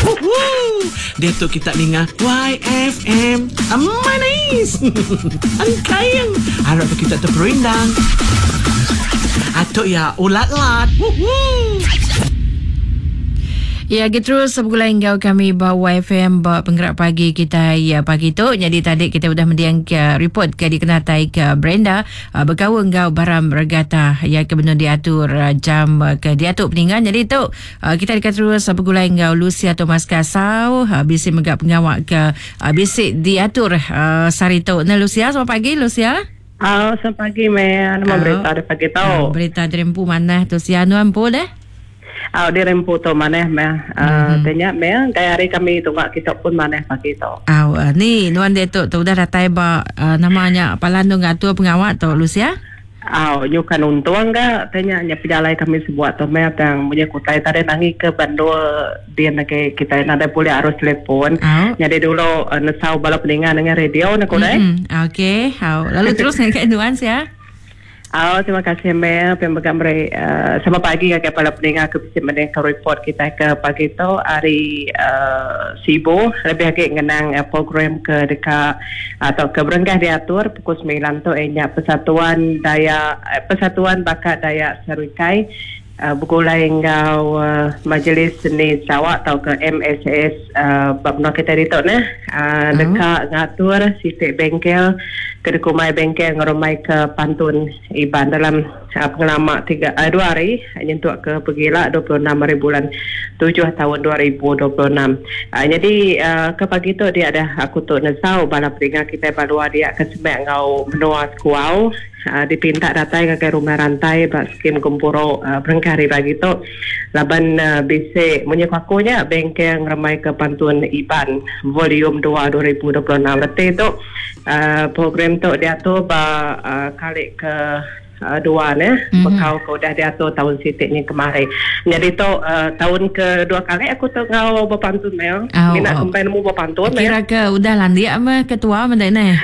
Woohoo! Diatu kita ninga YFM. Manis. Engkaing. Arap ke kita teperindang. Atuk ya ulat-lat. Woohoo! Ya, agi terus begulai enggau kami ba YFM ba penggerak pagi kita ya pagi tu. Jadi tadi kita udah mendiang ke report ke dikenatai ke Brenda uh, bekaul enggau Baram Regata ya ke benung diatur uh, jam uh, ke diatu peningan. Jadi tu Uh, kita deka terus uh, begulai enggau Lucia Thomas Kasau uh, bisi mega pengawa ke uh, bisi diatur uh, sehari tu. Nah Lucia, selamat pagi Lucia. Oh, selamat pagi Mel. Nama uh, berita dari pagi tu? Uh, berita dari empu manah tu sia nuan empu deh. Oh, di rempu tu manah meh. Uh, mm-hmm. Tanya meh, gaya hari kami tunga kita pun manah pagi tu. Oh, uh, ni nuan dia tu tu udah datai ba uh, namanya palan tu ngatur pengawa tu Lucia. Au, nyukan untung ga te nya nya pejalai kami sebuat tu meh tang munyi ku utai tadi nangi ke bandul din agi kitai nadai bulih arus telefon. Au. Nyadi dulu nesau bala peninga nengah radio ne ku deh. Mm okey. Au, lalu terus ngagai nuan sia. Au, terima kasih Mel pia mega meri uhh selamat pagi ngagai bala peninga ke bisi mendingka report kitai ke pagi tu ari uhh Sibu lebih agi ngenang program ke deka tauka berengkah diatur pukul semilan tu iya nya Persatuan Dayak Persatuan Bakat Dayak Serikai begulai enggau Majlis Seni Sarawak tauka MSS ba menua kitai ditu neh deka ngatur siti bengkel ke dikumbai Bengkel Ngerembaika Pantun Iban dalam pengelama tiga dua hari nyentuk ke pegila 26 hari bulan tujuh taun 2026. Nyadi ke pagi tu dia dah aku tu nesau bala peninga kitai ba luar dia ke semak enggau menua Sekuau dipinta datai ngagai Rumah Rantai ba skim gempuru berengkah hari pagi tu laban bisi munyi ku aku nya bengkel ngerembaika pantun Iban volume dua 2026. Reti tu program tu diatur ba kali ke dua neh bekau ke udah diatur taun siti nyin kemari. Nyadi tu taun ke dua kali aku tu enggau bepantun meh. Mina kembai nemu bepantun meh. Kira ke udah landik meh ketua menda neh.